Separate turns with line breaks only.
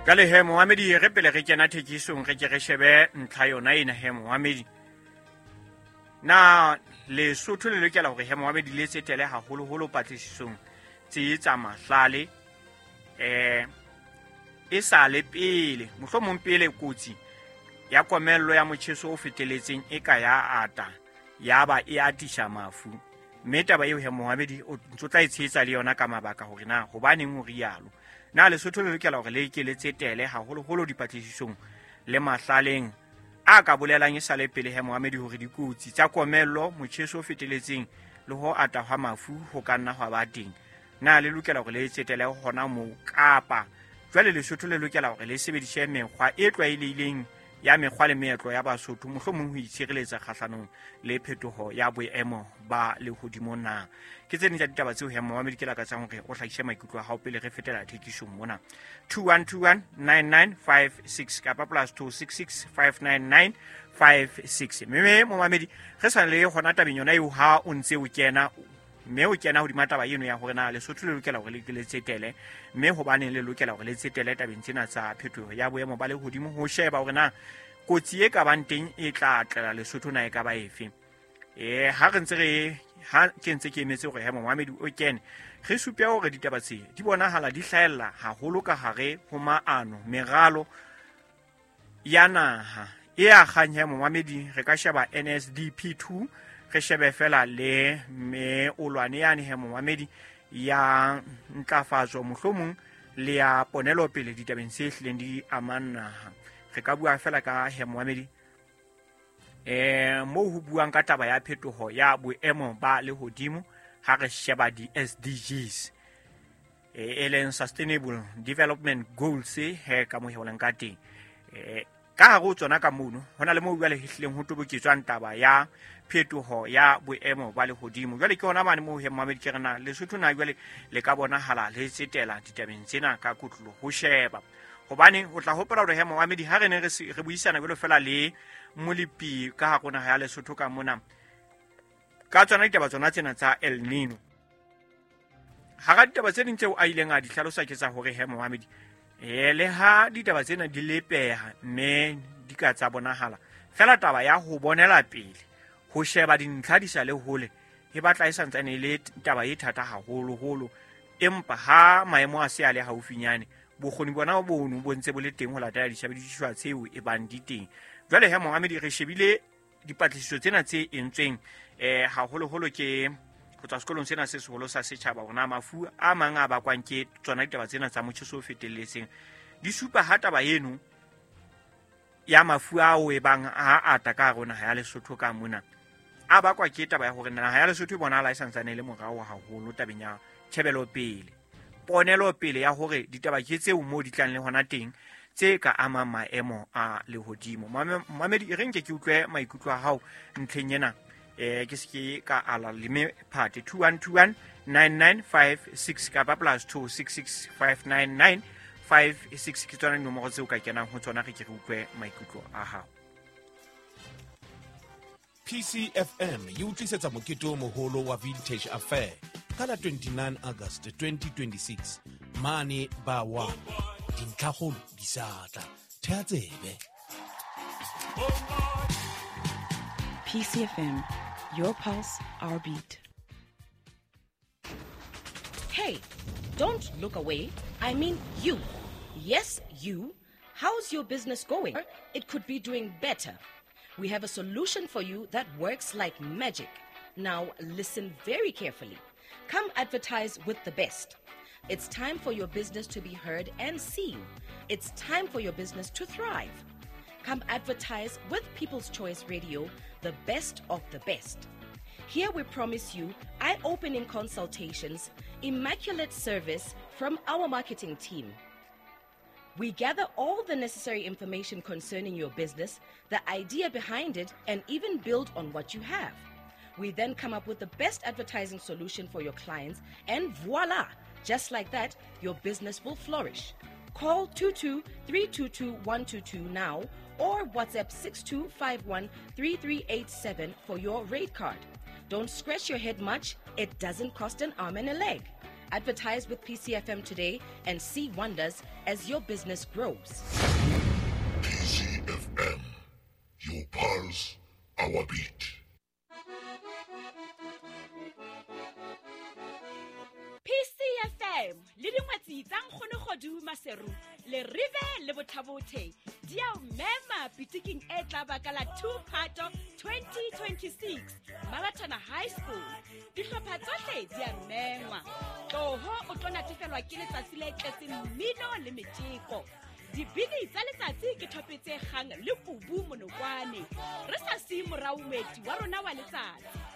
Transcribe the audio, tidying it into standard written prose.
Jwale he momamedi, re pele re kena thekisong, re ke re shebe ntlha yona ena he momamedi. Na Lesotho le lokela hore he momamedi le tsetele haholoholo patlisisong tse tsa mahlale e sa le pele, mohlomong pele kotsi ya komello ya motjheso o feteletseng e ka ya ata ya ba e atisa mafu. Mme taba eo he momamedi o ntso tla e tshehetsa le yona ka mabaka hore na hobaneng o rialo. Na Lesotho le lokela hore le ke le tsetele haholoholo dipatlisisong le mahlaleng a ka bolelang e sale pele he momamedi hore dikotsi tsa komello, motjheso o feteletseng le ho ata hwa mafu ho ka nna hwa ba teng? Na le lokela hore le tsetele hona moo, kapa jwale Lesotho le lokela hore le sebedise mekgwa e tlwaelehileng ya mekgwa le meetlo ya Basotho, mohlomong ho itshireletsa kgahlanong le phetoho ya boemo ba lehodimo na? Ke tse ding tsa ditaba tseo he momamedi ke lakatsang hore o hlahise maikutlo a hao pele re fetela thekisong mona. 21219956 kapa plus 26659956. Mme momamedi re sa le hona tabeng yona eo, ha o ntse o kena mme o kena hodima taba eno ya hore na Lesotho le lokela hore le tsetele, mme hobaneng le lokela hore le tsetele tabeng tsena tsa phetoho ya boemo ba lehodimo, ho sheba hore na kotsi e ka bang teng e tla tlela Lesotho na e ka ba efe. Ha re ntse re ha ke ntse ke emetse hore he momamedi o kene, re supe hore ditaba tse di bonahala di hlahella haholo ka hare ho maano, meralo ya naha e akgang he momamedi. Re ka sheba NSDP 2, re shebe fela le meolwane yane he momamedi ya ntlafatso, mohlomong le ya ponelopele ditabeng tse hlileng di amang naha. Re ka bua fela ka he momamedi moo ho buang ka taba ya phetoho ya boemo ba lehodimo ha re sheba di-SDGs, e leng Sustainable Development Goals he ka moheoleng ka teng. Ka hare ho tsona ka mono ho na le moo jwale hlileng ho toboketswang taba ya phetoho ya boemo ba lehodimo. Jwale ke hona mane moo he momamedi ke re na Lesotho na jwale le ka bonahala le tsetela ditabeng tsena ka kotlolo ho sheba. Hobane o tla hopola hore he momamedi ha re ne re buisana jwalo fela le molepi ka hare ho naha ya Lesotho ka mona ka tsona ditaba tsona tsena tsa El Nino. Hara ditaba tse ding tseo a ileng a di hlalosa ke tsa hore he momamedi le ha ditaba tsena di lepeha mme di ka tsa bonahala fela, taba ya ho bonela pele, ho sheba dintlha di sa le hole, e batla e santsane e le taba e thata haholoholo. Empa ha maemo a se a le haufinyane, bokgoni bona bono bo ntse bo le teng ho latela disebediswa tseo e bang di teng. Jwale he momamedi re shebile dipatlisiso tsena tse entsweng haholoholo ke ho tswa sekolong sena se seholo sa setjhaba, hore na mafu a mang a bakwang ke tsona ditaba tsena tsa motjheso o fetelletseng di supa ha taba eno ya mafu ao e bang a ata ka hare ho naha ya Lesotho ka mona a bakwa ke taba ya hore naha ya Lesotho e bonahala e santsane e le morao haholo tabeng ya tjhebelopele, ponelopele ya hore ditaba ke tseo moo di tlang le hona teng tse ka amang maemo a lehodimo. Momamedi e re nke ke utlwe maikutlo a hao ntlheng ena. Ke se ke ka ala leme phate 21219956 kapa plus 26659956 ke tsona dinomoro tseo ka kenang ho tsona, re ke re utlwe maikutlo a hao.
PCFM e utlwisetsa mokete o moholo wa Vintage Affair ka la 29 August 2026 mane ba wa dintlhakgolo di sa tla. Thea tsebe.
PCFM, your pulse, our beat.
Hey, don't look away. I mean you. Yes, you. How's your business going? It could be doing better. We have a solution for you that works like magic. Now listen very carefully. Come advertise with the best. It's time for your business to be heard and seen. It's time for your business to thrive. Come advertise with People's Choice Radio, the best of the best. Here we promise you eye-opening consultations, immaculate service from our marketing team. We gather all the necessary information concerning your business, the idea behind it, and even build on what you have. We then come up with the best advertising solution for your clients, and voila! Just like that, your business will flourish. Call 22-322-122 now or WhatsApp 6251-3387 for your rate card. Don't scratch your head much. It doesn't cost an arm and a leg. Advertise with PCFM today and see wonders as your business grows.
PCFM, your pulse, our beat.
PCFM le dingwetsi tsa Nkgonogodu Maseru le Rive le Bothabothe di a o mema pitiking e tla baka la 2 Phato 2026 Marathon High School. Dihlopha tsohle di a mengwa. Tloho o tlo natefelwa ke letsatsi le tletseng mmino le metjeko. Dibini tsa letsatsi ke thope tse kgang le kubu monokwane. Re sa siye morao moeti wa rona wa letsatsi.